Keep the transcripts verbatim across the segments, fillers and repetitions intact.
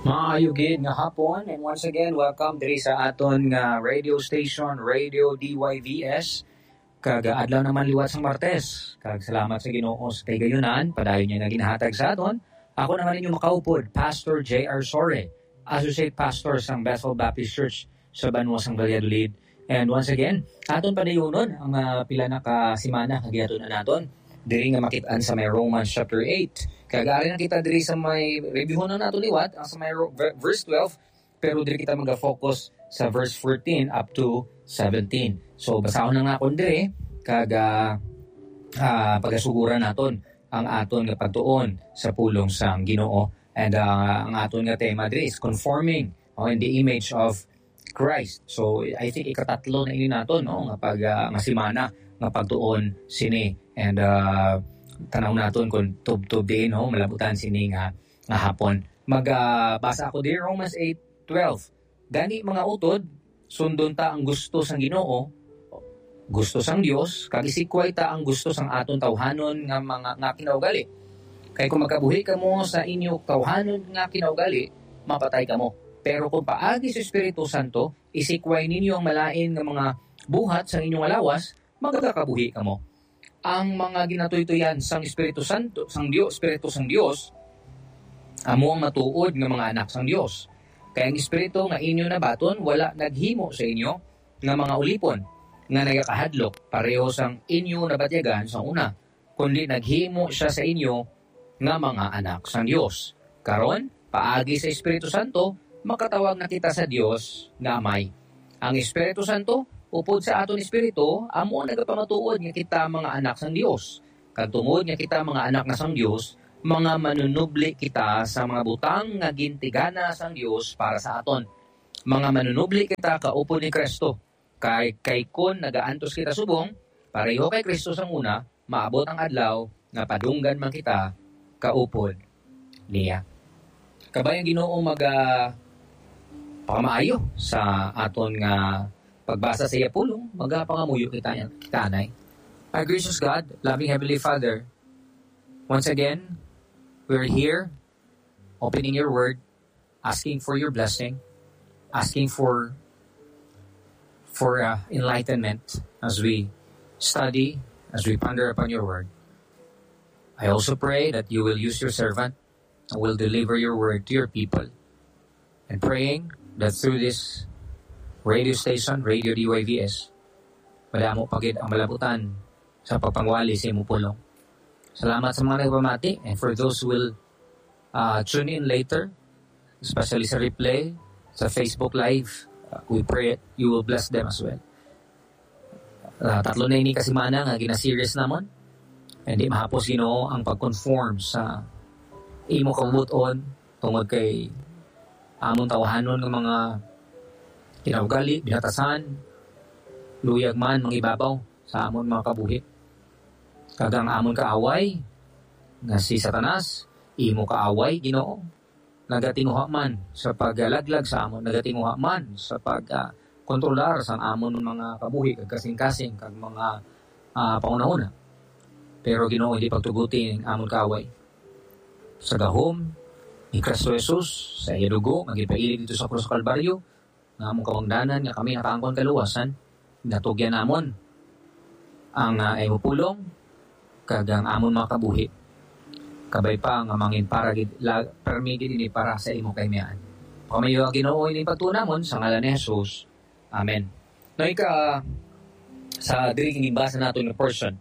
Maayo gid nga hapon, and once again, welcome diri sa aton nga radio station, Radio D Y V S. Kag, ah, adlaw naman liwat sang Martes. Kag salamat sa Ginoo sa kay gayunan, padayon niya nga ginahatag sa aton. Ako naman inyo makaupod, Pastor J R Sore, Associate Pastor sang Bethel Baptist Church sa banwa sang Valladolid. And once again, aton padayunon ang, ah, pila na ka semana nga gihatod na naton diri nga makit-an sa may Romans chapter eight. Kag ari na kita diri sa may reviewon na nato liwat, ang sa may Ro-, ver-, verse twelve, pero diri kita maga-focus sa verse fourteen up to seventeen. So, basahon na nga akon diri, kag, ah, ah, pagasuguran naton ang aton nga pagtuon sa pulong sang Ginoo. And, ah, ang aton nga tema diri is conforming, oh, in the image of Christ. So, I think ikatatlo na ini naton, no, nga pag, ah, nga semana nga pagtuon sini. And, ah, tanaw naton kung tubtob diin, no, malabutan sini nga, nga hapon. Mag, ah, basa ako diri, Romans eight twelve. Gani, mga utod, sundon ta ang gusto sang Ginoo, gusto sang Dios, kag isikway ta ang gusto sang aton tawhanon nga mga, nga kinaugali. Kay kung magkabuhi kamo sa inyo tawhanon nga kinaugali, mapatay kamo. Pero kung paagi sa Espiritu Santo, isikway ninyo ang malain nga mga buhat sang inyo nga lawas, magakabuhi kamo. Ang mga ginatuytoyan sang Espiritu Santo, sang Dios, Espiritu sang Dios, amo ang matuod nga mga anak sang Dios. Kay ang Espiritu nga inyo nabaton wala naghimo sa inyo nga mga ulipon nga nagakahadlok pareho sang inyo nabatyagan sa una, kundi naghimo sia sa inyo nga mga anak sang Dios. Karon, paagi sa Espiritu Santo, makatawag na kita sa Dios nga Amay. Ang Espiritu Santo, upod sa aton espiritu, amo ang nagapamatuod nga kita mga anak sang Dios. Kag tungod nga kita mga anak na sang Dios, mga manunubli kita sa mga butang nga gintigana sang Dios para sa aton. Mga manunubli kita kaupod ni Cristo. Kay, kay kon nagaantos kita subong, pareho kay Cristo sang una, maabot ang adlaw nga padunggan man kita kaupod niya. Kabay ang Ginoo maga pamaayo sa aton nga pagbasa sa iya pulong, magapangamuyo kita, kita anay. Our gracious God, loving Heavenly Father, once again, we're here, opening your word, asking for your blessing, asking for, for, uh, enlightenment as we study, as we ponder upon your word. I also pray that you will use your servant and will deliver your word to your people. And praying that through this radio station, Radio D Y V S, madamo pa gid ang malabutan sa pagpangwali sa imong pulong. Salamat sa mga nagpamati, and for those who will, uh, tune in later, especially sa replay, sa Facebook Live, uh, we pray you will bless them as well. Uh, tatlo na ini ka semana nga gina-series namon. Hindi mahapos, Ginoo, ang pag-conform sa imo kabubuton tungod kay amon tawhanon nga mga kinaugali, binatasan, luyag man mangibabaw sa amon mga kabuhi. Kag ang amon kaaway nga si Satanas, imo kaaway, Ginoo, nagatinguha man sa pagalaglag sa amon, nagatinguha man sa pag, ah, kontrolar sang amon mga kabuhi kag kasing-kasing kag mga, ah, panghunahuna. Pero, Ginoo, hindi pagtuguti ang amon kaaway. Sa gahom ni Cristo Jesus, sa iya dugo nga ginpailig didto sa krus sa Kalbaryo, nga among kabangdanan nga kami nakaangkon kaluwasan, natugyan namon ang, ah, imo pulong kag ang amon mga kabuhi. Kabay pa nga mangin para gid la-, permi gid ini para sa imo kahimayaan. Pamayo, Ginoo, ini pagtuo namon sa ngalan ni Jesus. Amen. No, ika, sa diri ginbasa naton nga portion,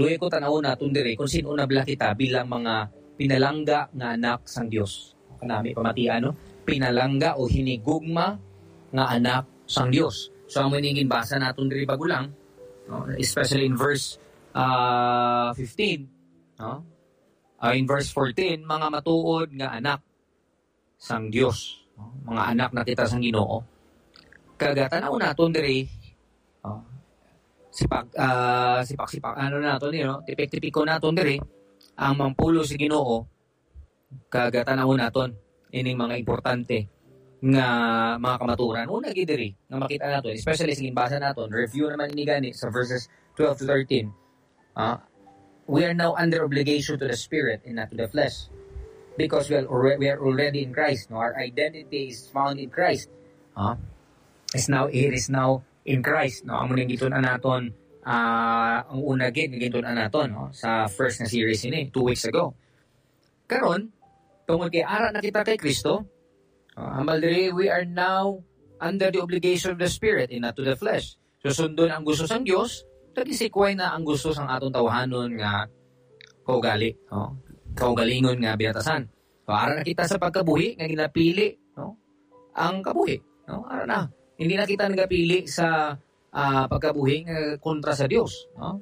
luoy ko tan-awon naton diri kung sin-o na bala kita bilang mga pinalangga nga anak sang Dios. Kanami pamatian, no? Pinalangga o hinigugma nga anak sang Dios. So, amo ini ginbasa naton diri bago lang, no? Especially in verse, ah, fifteen, no? Ah, in verse fourteen, mga matuod nga anak sang Dios, no? Mga anak na kita sang Ginoo. Kag, ah, tan-aw naton diri, no? Sipak, ah, sipak-sipak, ano naton, you know, tipik-tipikon naton diri ang mga pulong sa Ginoo, kag, ah, tan-aw naton ining mga importante nga mga kamaturan. Una gid diri nga makita naton, especially sa ginbasa naton, review naman ini gani sa verses twelve to thirteen. Ah, we are now under obligation to the Spirit and not to the flesh. Because we are alre-, we are already in Christ, no? Our identity is found in Christ. Ah, is now, it is now in Christ, no? Amo ning gitun-an naton, ah, ang una gid nga gitun-an naton, no? Sa first na series ini, two weeks ago. Karon, tungod kay ara na kita kay Kristo, ah, hambal diri, we are now under the obligation of the Spirit and not to the flesh. So, sundon ang gusto sang Dios, kag isikway na ang gusto sang aton tawhanon nga kaugali, no? Kaugalingon nga biyatasan. So, ara na kita sa pagkabuhi nga ginapili, no? Ang kabuhi, no? Ara na. Hindi na kita nagapili sa, ah, pagkabuhi nga kontra sa Dios, no?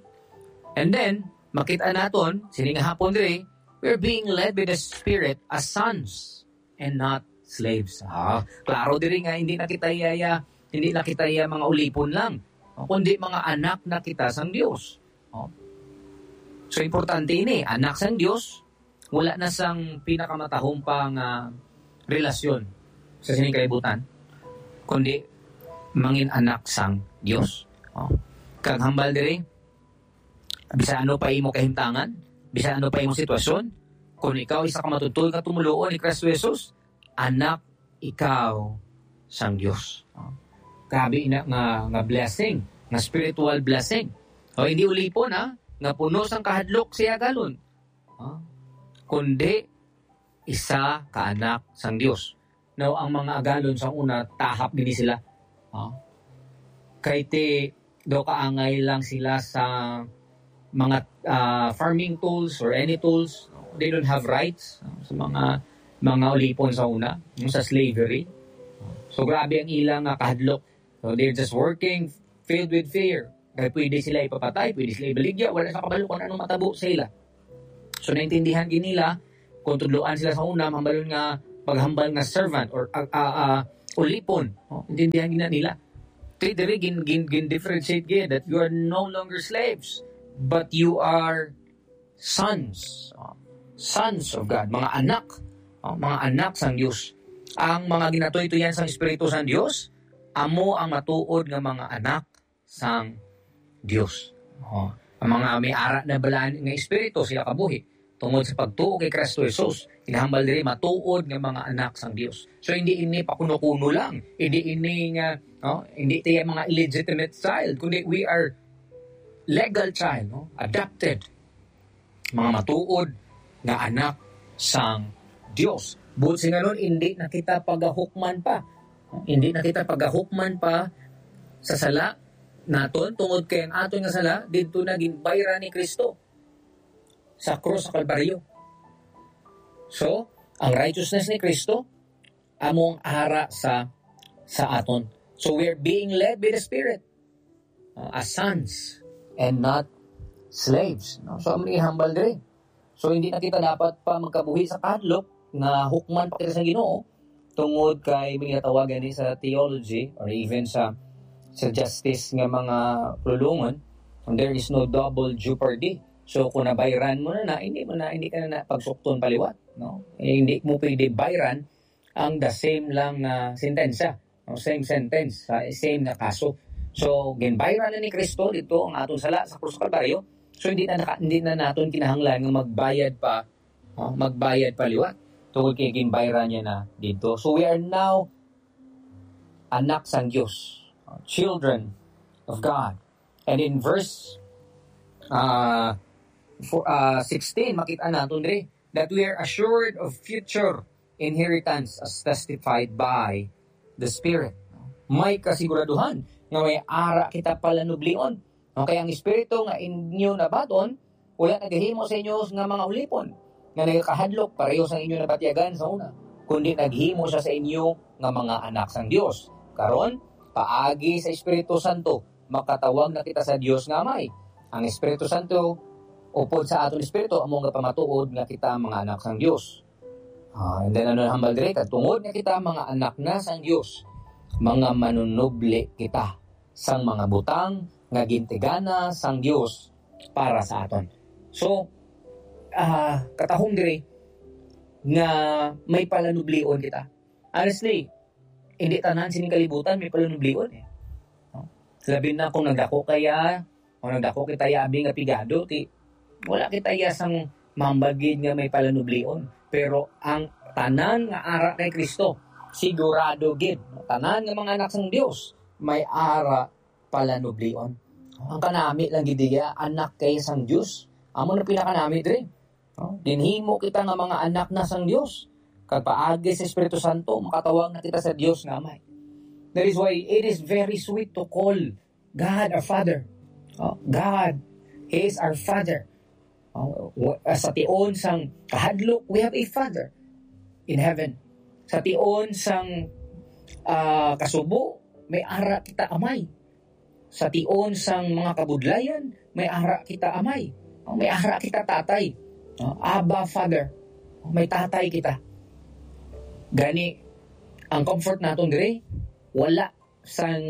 And then, makita naton, sini nga hapon diri, we're being led by the Spirit as sons and not slaves. Ah, klaro diri nga hindi na kita iya, iya, hindi na kita iya mga ulipon lang, kundi mga anak na kita sang Dios. Oh. So, importante ini, anak sang Dios, wala na sang pinakamatahom pa nga relasyon sa sining kalibutan, kundi mangin anak sang Dios. Oh. Kag hambal diri, bisan ano pa imo kahimtangan, bisan ano pa imo sitwasyon, kung ikaw isa ka matuod-tuod nga tumoluo ni Kristo Jesus, anak ikaw sang Dios. Oh. Grabe ina nga, nga blessing, nga spiritual blessing. O, hindi ulipon, ha, nga puno sang kahadlok sa iya agalon. Oh. Kundi isa ka anak sang Dios. Now, ang mga agalon sa una, tahap gini sila. Oh. Kay ti, daw kaangay lang sila sa mga, ah, farming tools or any tools. They don't have rights, ah, sa mga, mga ulipon sa una, yung sa slavery. So, grabe ang ilang nga kahadlok. So, they're just working filled with fear. Kay pwede sila ipapatay, pwede sila ibaligya, wala sa kabalo kung anong matabo sa ila. So, naintindihan gid nila kung tudloan sila sa una, hambalon nga paghambal nga servant or, ah, ah, ah, ulipon. Oh, intindihan gid na nila. Kay diri gin, gin, gin differentiate gid that you are no longer slaves, but you are sons. Oh, sons of God, mga anak. Oh, mga anak sang Dios. Ang mga ginatuytoyan sang Espiritu sang Dios, amo ang matuod nga mga anak sang Dios. Oh, ang mga may ara na balaan nga espiritu, sila kabuhi. Tungod sa pagtuo kay Kristo Jesus, ginahambal diri matuod nga mga anak sang Dios. So, hindi ini pakuno-kuno lang. Hindi ini nga, no, hindi tayo mga illegitimate child, kundi we are legal child, no? Adopted. Mga matuod nga anak sang Dios. Buot silingon, hindi na kita pagahukman pa. Hindi na kita pagahukman pa sa sala naton, tungod kay ang aton nga sala didto na ginbayran ni Kristo sa krus sa Kalbaryo. So, ang righteousness ni Kristo amo ang ara sa, sa aton. So, we're being led by the Spirit, uh, as sons and not slaves, no? So, amo ni hambal diri. So, hindi na kita dapat pa magkabuhi sa kahadlok nga hukman pa kita sa Ginoo, tungod kay may ginatawagan ni sa theology or even sa, sa justice nga mga pulongon, there is no double jeopardy. So, kung nabayran mo na na, hindi mo na, hindi ka na, na pagsukton pa liwat, no? Eh, hindi mo pwede bayran ang the same lang nga sentensya, no? Same sentence, sa same nga kaso. So, ginbayran na ni Kristo dito ang aton sala sa krus sa Kalbaryo. So, hindi na naka-, hindi na naton kinahanglan nga magbayad pa, no? Magbayad pa liwat. Tungod kay ginbayran niya na dito. So, we are now anak sang Dios, children of God. And in verse, uh, for, uh, sixteen, makita naton diri that we are assured of future inheritance as testified by the Spirit. May kasiguraduhan nga may ara kita palanublion. Okay, ang Espiritu nga inyo nabaton, wala nagahimo sa inyo nga mga ulipon nga nagakahadlok pareho sa inyo nabatyagan sa una, kundi naghimo siya sa inyo nga mga anak sang Dios. Karon, paagi sa Espiritu Santo, makatawag na kita sa Dios nga Amay. Ang Espiritu Santo, upod sa aton espiritu, amo nga pamatuod nga kita mga anak sang Dios. Ah, and then ano ang hambal diri? Kag tungod nga kita mga anak na sang Dios, mga manunubli kita sang mga butang nga gintigana sang Dios para sa aton. So, ah, katahom diri nga may palanublion kita. Honestly, hindi tanan sining kalibutan may palanublion, eh. No? Labi na kung nagdako kaya, o nagdako kita ya abi nga pigado, ti wala kita ya sang mambagid nga may palanublion. Pero ang tanan nga ara kay Kristo, sigurado gid, tanan nga mga anak sang Dios may ara palanublion. Ang kanami lang gid iya, anak kay sang Dios. Amo na pinakanami diri. No? Ginhimo kita nga mga anak na sang Dios. Kag paagi sa Espiritu Santo, makatawag na kita sa Dios nga Amay. That is why it is very sweet to call God our Father. Oh, God is our Father. Oh, wa- sa tion sang kahadlok, we have a Father in heaven. Sa tion sang ah, kasubo, may ara kita Amay. Sa tion sang mga kabudlayan, may ara kita Amay. Oh, may ara kita Tatay. Oh, Abba, Father. Oh, may Tatay kita. Gani, ang comfort naton diri, wala sang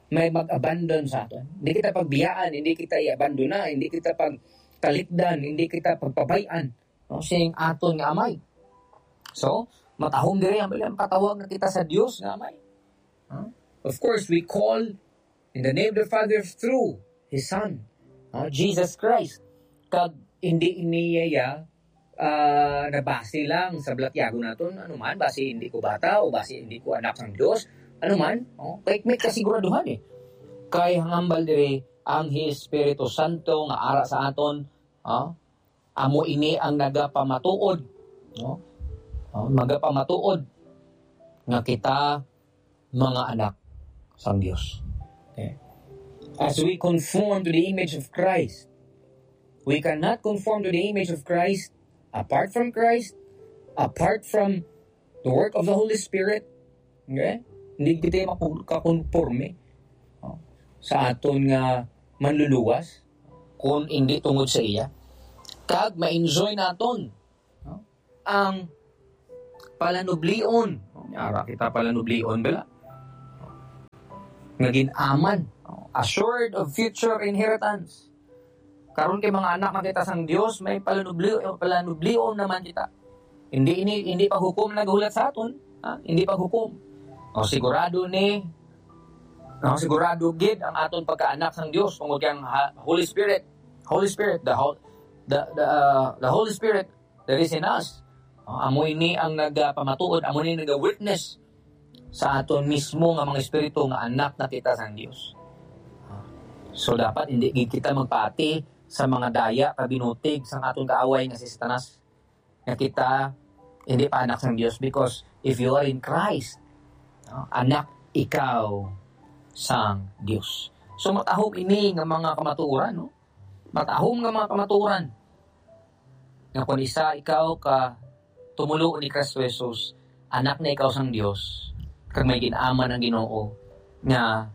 may mag-abandon sa aton. Hindi kita pagbiyaan, hindi kita i-abandona, hindi kita pagtalikdan, hindi kita pagpabay-an, no, sing aton nga Amay. So, matahom diri ang bilang patawag na kita sa Dios nga Amay. Huh? Of course, we call in the name of the Father through His Son, huh, Jesus Christ. Kag hindi niya ah, nabase lang sa balatyagon naton, ano man, basi hindi ko bata o basi hindi ko anak sang Dios, ano man, oh, kay may kasiguraduhan eh. Kay hangambal diri ang Espiritu Santo nga ara sa aton, oh, amo ini ang nagapamatuod, no? Oh, magapamatuod nga kita mga anak sang Dios. Okay. As we conform to the image of Christ, we cannot conform to the image of Christ apart from Christ, apart from the work of the Holy Spirit. Okay? Hindi kita makakonforme, oh, sa aton nga manluluwas kung hindi tungod sa iya. Kag ma-enjoy naton, no, ang palanublion. Ara kita palanublion, bala. Nga gin-aman, assured of future inheritance. Karon kay mga anak na kita sang Dios, may palanublion, palanublion naman kita. Hindi ini, hindi paghukom nagahulat sa aton, ha? Hindi paghukom. O sigurado ni, no, sigurado gid ang aton pagkaanak sang Dios tungod kay ang ha- Holy Spirit, Holy Spirit, the whole, the, the, uh, the Holy Spirit that is in us. Uh, amo ini ang nagapamatuod, amo ini naga-witness sa aton mismo nga mga espiritu nga anak na kita sang Dios. So dapat hindi gid kita magpaati sa mga daya kabinutig sang aton kaaway nga si Satanas, nga kita hindi pa anak sang Dios, because if you are in Christ, no, anak ikaw sang Dios. So matahom ini nga mga kamatuoran, no? Matahom nga mga kamatuoran nga kung isa ikaw ka tumulo ni Kristo Jesus, anak na ikaw sang Dios, kag may gin-aman ang Ginoo nga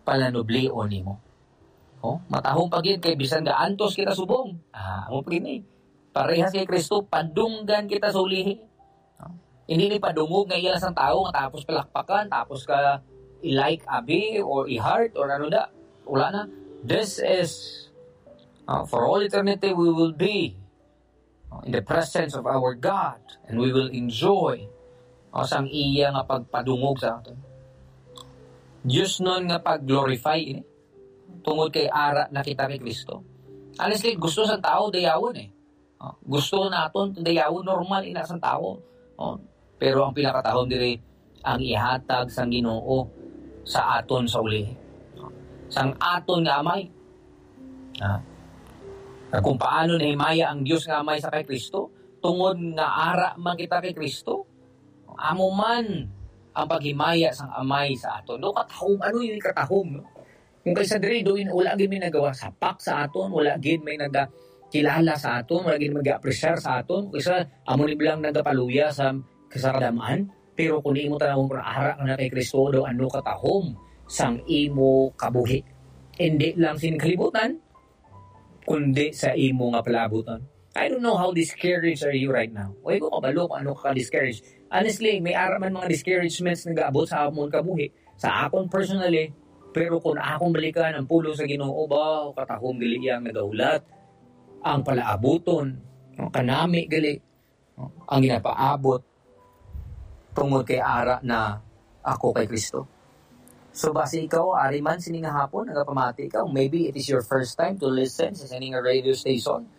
palanublion nimo. Oh, matahom pa gid kay bisan gaantos kita subong. Ah, amo pa gid ni. Parehas kay Kristo, padunggan kita sa ulihi. No? Hindi ni padungog nga iya lang sang tawo nga tapos palakpakan, tapos ka i-like abi or i-heart or ano da. Wala na. This is, uh, for all eternity we will be, uh, in the presence of our God, and we will enjoy, uh, sang iya nga pagpadungog sa aton. Dios nun nga pag-glorify ini, tungod kay ara na kita kay Kristo. Honestly, gusto sa tao dayawon eh. Oh, gusto naton dayawon, normal ina sang tawo. Oh, pero ang pinakatahom diri ang ihatag sang Ginoo sa aton sa uli. Sang aton nga amay. Ah. Kag kung paano nahimaya ang Dios nga Amay sa kay Kristo, tungod nga ara man kita kay Kristo, amo man ang paghimaya sang Amay sa aton. No, katahom, ano yung katahom, no? Kung kaysa diri, doon wala gid may nagawa sapak sa aton, wala gid may nagakilala sa aton, wala gid may nag-apresyar sa aton, kaysa amo ni lang nagapaluya sa, sa kadam-an. Pero kung imo tanawon kung ara ka na kay Kristo, daw ano katahom sang imo kabuhi. Hindi lang sin kalibutan, kundi sa imo nga palaabuton. I don't know how discouraged are you right now. Way ko kabalo kung ano ka discouraged. Honestly, may ara man mga discouragements nagaabot sa amon kabuhi. Sa akon personally, pero kung akong balikan ang pulong sa Ginoo, ba, katahom gali iyang nagahulat. Ang palaabuton, ang kanami gali, ang ginapaabot, tungod kay ara na ako kay Kristo. So, basi ikaw, ari man sini nga hapon, nagapamati ikaw, maybe it is your first time to listen sa sini nga radio station.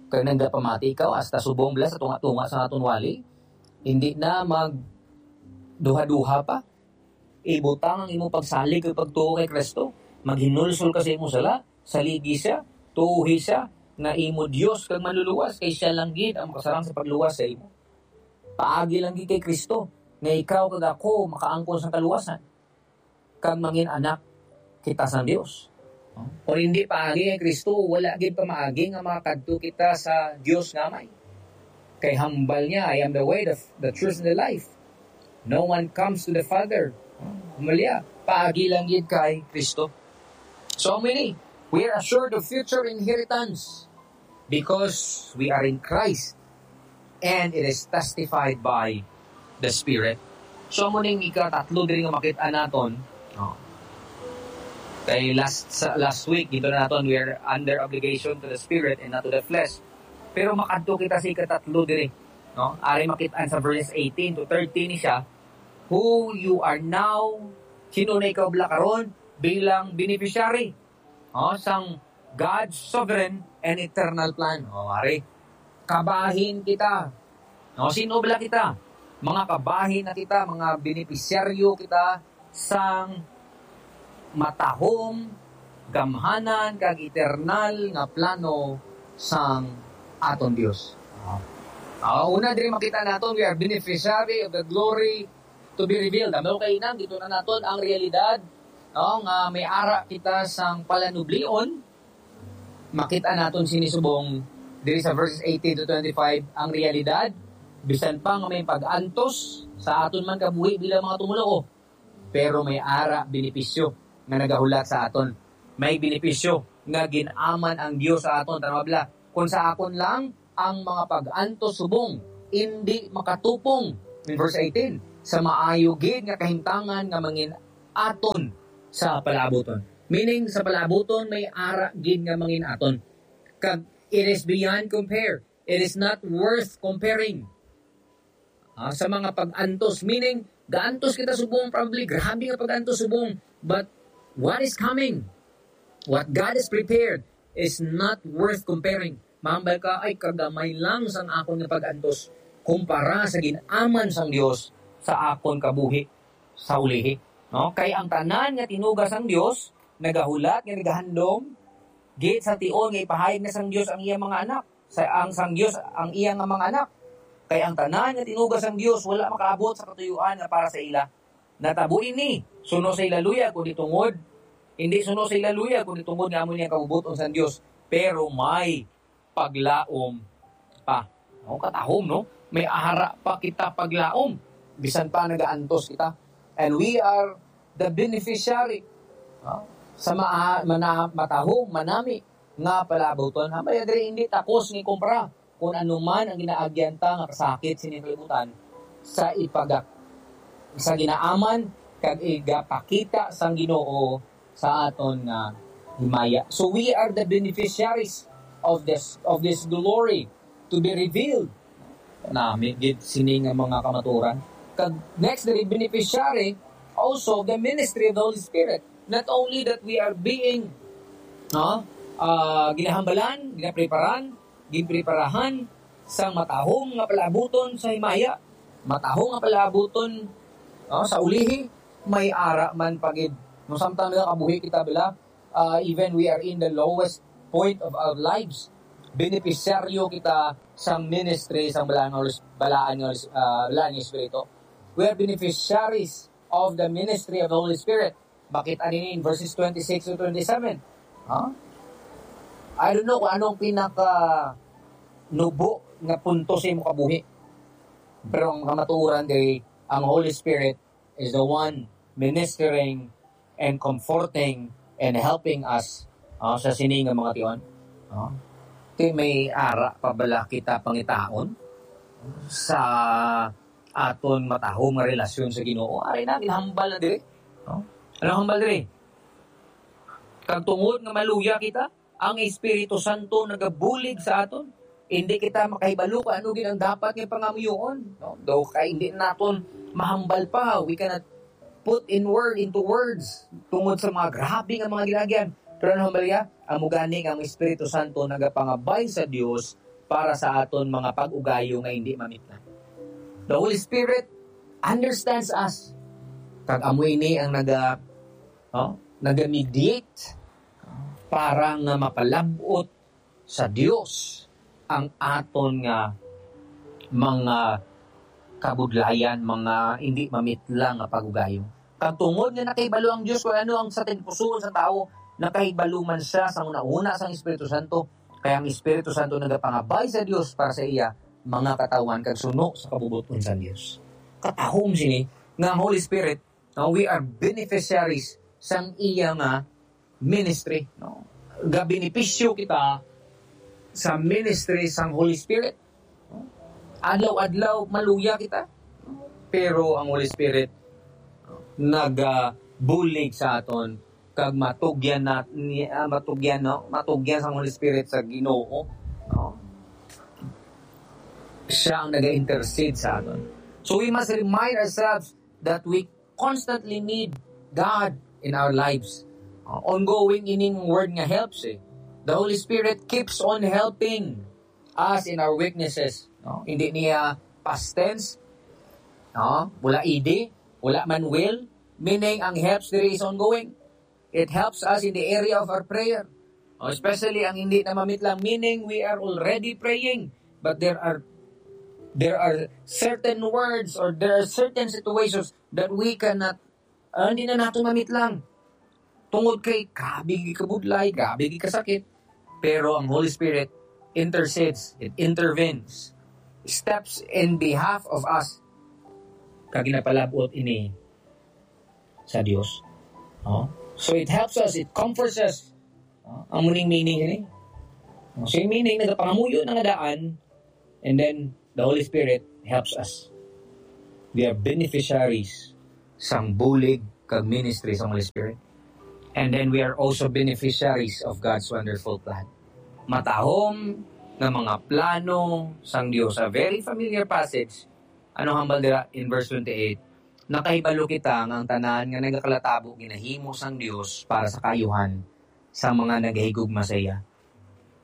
Kay nagapamati ikaw, hasta subong bala sa tunga-tunga sa aton wali. Hindi na mag duha-duha pa. Ibutang ang imong pagsalig kag pagtuo kay Kristo. Maghinulsol ka sa imong sala, saligi siya, tuohi siya, nga imo Dios kag Manluluwas, kay siya lang gid ang makasarang sa pagluwas sa imo. Paagi lang gid kay Kristo, nga ikaw kag ako makaangkon sa kaluwasan, kag mangin anak kita sang Dios. Kung hindi paagi kay Kristo, wala gid pamaagi nga makadto kita sa Dios nga Amay. Kay hambal niya, "I am the way, the, the truth, and the life. No one comes to the Father." Humalya, paagi lang gid kay Kristo. So, amo ini, we are assured of future inheritance because we are in Christ, and it is testified by the Spirit. So, amo ning ikatatlo diri nga makit-an naton. Oh. Kay last sa, last week, ginto-an naton, we are under obligation to the Spirit and not to the flesh. Pero makadto kita sa ikatatlo diri, no? Ari makit-an sa verses eighteen to thirteen ni siya, who you are now, sino na ikaw bala karon bilang beneficiary, oh, sang God's sovereign and eternal plan. Oh, ari, kabahin kita. No, sino bala kita? Mga kabahin na kita, mga benepisyaryo kita sang matahom, gamhanan, kag eternal nga plano sang aton Dios. Ah, una diri makita naton, we are beneficiary of the glory to be revealed. Amo kay nang dito na naton ang realidad, no, nga may ara kita sang palanublion. Makita naton sini subong diri sa verses eighteen to twenty-five ang realidad, bisan pa nga may pag-antos sa aton man kabuhi bilang mga tumoluo, pero may ara benepisyo nga nagahulat sa aton. May benepisyo nga gin-aman ang Dios sa aton. Tan-awa bala, kung sa akon lang ang mga pag-antos subong indi makatupong, in verse eighteen, sa maayo gid nga kahimtangan nga mangin aton sa palaabuton. Meaning, sa palaabuton may ara gid nga mangin aton. Kag it is beyond compare. It is not worth comparing. Ah, sa mga pag-antos, meaning, gaantos kita subong, probably, grabe nga pag-antos subong. But what is coming, what God is prepared, is not worth comparing. Mahambal ka, "Ay, kagamay lang sang akon nga pag-antos kumpara sa gin-aman sang Dios sa akon kabuhi sa ulihi." No? Kay ang tanan nga tinuga sang Dios nagahulat nga nagahandom gid sa tion nga ipahayag na sang Dios ang iyang mga anak, sa ang sang Dios ang iyang mga anak. Kay ang tanan nga tinuga sang Dios wala makaabot sa katuyuan nga para sa ila. Natabo ini suno sa ila luyag, kundi tungod, hindi suno sa ila luyag, kundi tungod nga amo niya kabubot-on sang Dios, pero may paglaom pa. No, katahom, no? May ara pa kita paglaom, bisan pa nagaantos kita. And we are the beneficiary, no, sa maa-, mana-, matahom, manami nga palaabuton. Ang diri hindi takos ni kumpara kung ano man ang ginaagyan ta nga kasakit sini kalibutan sa ipagak-, sa ginaaman kag igapakita sang Ginoo sa aton nga himaya. So we are the beneficiaries of this, of this glory to be revealed. Nami gid sini nga mga kamaturan. Kag next, the beneficiary also of the ministry of the Holy Spirit. Not only that we are being, no, ah, ginahambalan, ginapreparan, ginpreparahan sang matahom nga palaabuton sa himaya, matahom nga palaabuton, no, sa ulihi, may ara man pa gid. No, samtang nagakabuhi kita bala, ah, even we are in the lowest point of our lives, beneficiaryo kita sang ministry sang balaan nga Holy Sp-, balaan nga Holy Sp-, ah, balaan nga Espiritu. We are beneficiaries of the ministry of the Holy Spirit. Makita nini in verses twenty-six to twenty-seven. Ha? I don't know kung anong pinaka nubo nga punto sa imong kabuhi. Pero ang kamatuoran kay ang Holy Spirit is the one ministering and comforting and helping us, ah, sa sini nga mga tion. Ah, kay may ara pa bala kita pangitaon sa aton matahom nga relasyon sa Ginoo? Ari na, ginhambal na diri. No? Ano hambal diri? Kag tungod nga maluya kita, ang Espiritu Santo nagabulig sa aton. Hindi kita makahibalo kung ano gid ang dapat nga pangamuyoon, no? Daw kay hindi naton mahambal pa, we cannot put in word, into words, tungod sa mga grabe nga mga ginagyan. Pero ano hambal niya? Amo gani nga ang Espiritu Santo nagapangabay sa Dios para sa aton mga pag-ugayo nga hindi mamitlan. The Holy Spirit understands us. Kag amo ini ang naga, no, naga-mediate para nga mapalab-ot sa Dios ang aton nga mga kabudlayan, mga hindi mamitlang nga pag-ugayo. Kag tungod nga nakahibalo ang Dios kung ano ang sa tagipusoon sa tawo, nakahibalo man siya sa una-una sang Espiritu Santo. Kaya ang Espiritu Santo nagapangabay sa Dios para sa iya mga katawhan kag suno sa kabubot-on sang Dios. Katahom sini nga ang Holy Spirit, no, we are beneficiaries sang iya nga ministry, no? Gabenepisyo kita sa ministry sang Holy Spirit. Adlaw-adlaw maluya kita. Pero ang Holy Spirit nagabulig sa aton kag matugyan na ni, ah, matugyan, no? Matugyan sang Holy Spirit sa Ginoo, no? Siya ang naga-intercede sa aton. So we must remind ourselves that we constantly need God in our lives. Uh, ongoing ining word nga helps eh. The Holy Spirit keeps on helping us in our weaknesses. No? Hindi niya past tense. No? Wala ed, wala man will. Meaning, ang helps diri is ongoing. It helps us in the area of our prayer. No? Especially ang hindi na mamitlang. Meaning, we are already praying. But there are there are certain words or there are certain situations that we cannot, ah, hindi na nato mamitlang. Tungod kay grabe gid kabudlay, grabe gid kasakit. Pero ang Holy Spirit intercedes, it intervenes, steps in behalf of us. Kag ginapalab-ot ini sa Dios. Oh? So it helps us, it comforts us. Oh? Ang muning meaning ini. Oh, so yung meaning, nagapangamuyo na nga daan, and then the Holy Spirit helps us. We are beneficiaries sang bulig kag ministry sang Holy Spirit. And then we are also beneficiaries of God's wonderful plan. Matahom nga mga plano sang Dios. A very familiar passage. Ano hambal dira in verse twenty-eight? Nakahibalo kita nga ang tanan nga nagakalatabo ginahimo sang Dios para sa kaayuhan sang mga nagahigugma sa iya,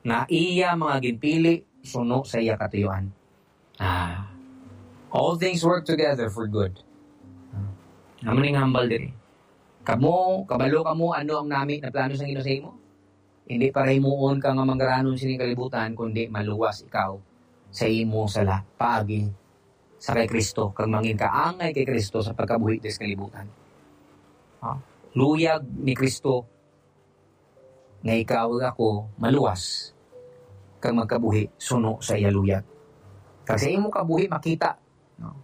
nga iya mga ginpili suno sa iya katuyuan. Ah, all things work together for good. Ah, amo ning hambal diri. Kamo, kabalo kamo ano ang nami na plano sang Ginoo sa imo? Hindi para himuon ka nga manggaranon sining kalibutan, kundi maluwas ikaw sa imo sala paagi sa kay Kristo, kag mangin-kaangay kay Kristo sa pagkabuhi diri sa kalibutan. Ha? Luyag ni Kristo nga ikaw ug ako maluwas kag magkabuhi suno sa iya luyag. Kag sa imo kabuhi makita, no,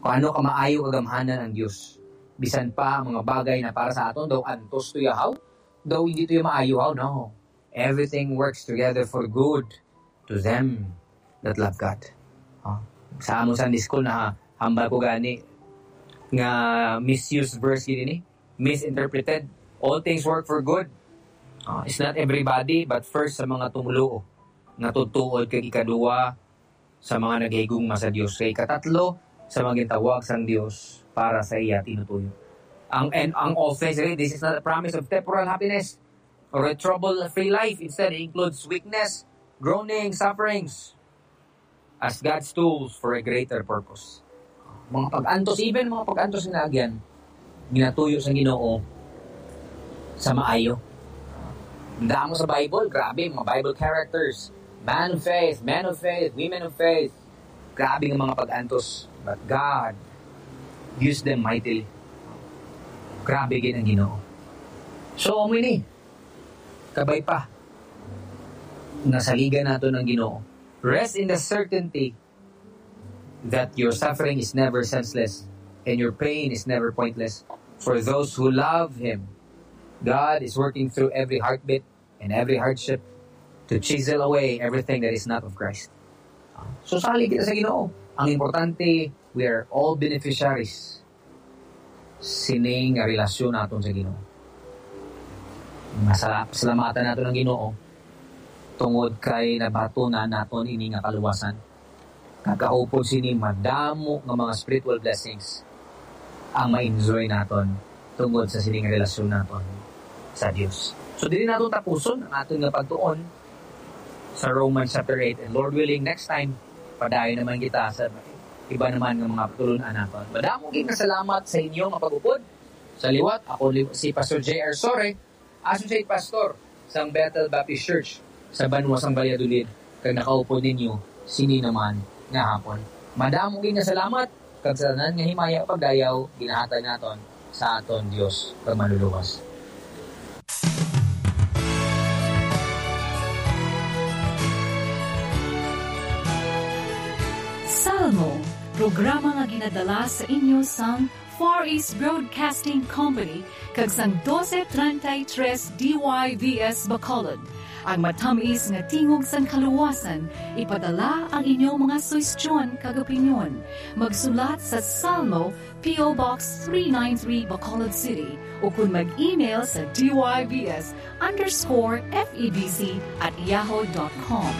kung ano ka maayo kagamhanan ang Dios. Bisan pa ang mga bagay na para sa aton daw antos tuyahaw, daw hindi tuyo maayo haw, no. Everything works together for good to them that love God. Oh, sa amon Sunday school, nahambal ko gani nga misused verse gid ini, misinterpreted. All things work for good. Oh, it's not everybody, but first sa mga tumoluo nga tutuod, kag ikaduha sa mga naghigugma sa Dios, kag ikatatlo sa mga gintawag sang Dios para sa iya tinutuyo. Ang, and ang offense, really, this is not a promise of temporal happiness or a trouble-free life. Instead, it includes weakness, groaning, sufferings as God's tools for a greater purpose. Mga pag-antos, even mga pag-antos nga agyan, ginatuyo sa Ginoo sa maayo. Ang damo sa Bible, grabe, mga Bible characters. Man of faith, men of faith, women of faith. Grabe nga mga pag-antos. But God used them mightily. Grabe gid ang Ginoo. So, amo ini. Kabay pa. Nasaligan nato ng Ginoo. Rest in the certainty that your suffering is never senseless and your pain is never pointless. For those who love Him, God is working through every heartbeat and every hardship to chisel away everything that is not of Christ. So, salig kita sa Ginoo. Ang importante, we are all beneficiaries sining nga relasyon naton sa Ginoo. Masala-, pasalamatan naton ang Ginoo tungod kay nabatunan naton ini nga kaluwasan. Kag kaupod sini, madamo nga mga spiritual blessings ang ma-enjoy naton tungod sa sining relasyon naton sa Dios. So, dili naton tapuson ang aton nga pagtuon sa Romans chapter eight. And Lord willing, next time, padayon naman kita sa iba naman nga mga pagtulun-an naton. Madamo gid nga salamat sa inyo nga pag-upod. Sa liwat, ako li-, si Pastor J R Sore, Associate Pastor sang Bethel Baptist Church sa banwa sang Valladolid, kag nakaupod ninyo sini naman nga hapon. Madamo gid nga salamat, kag sa tanan nga himaya pagdayaw ginahatag naton sa aton Dios kag Manluluwas. Salmo, programa nga ginadala sa inyo sang Far East Broadcasting Company kag sang doce treinta y tres D Y V S Bacolod. Ang matamis nga tingog sang kaluwasan, ipadala ang inyong mga suhestyon kag opinyon. Magsulat sa Salmo, P O Box three nine three, Bacolod City, o kun mag-email sa D Y V S underscore F E B C at yahoo dot com.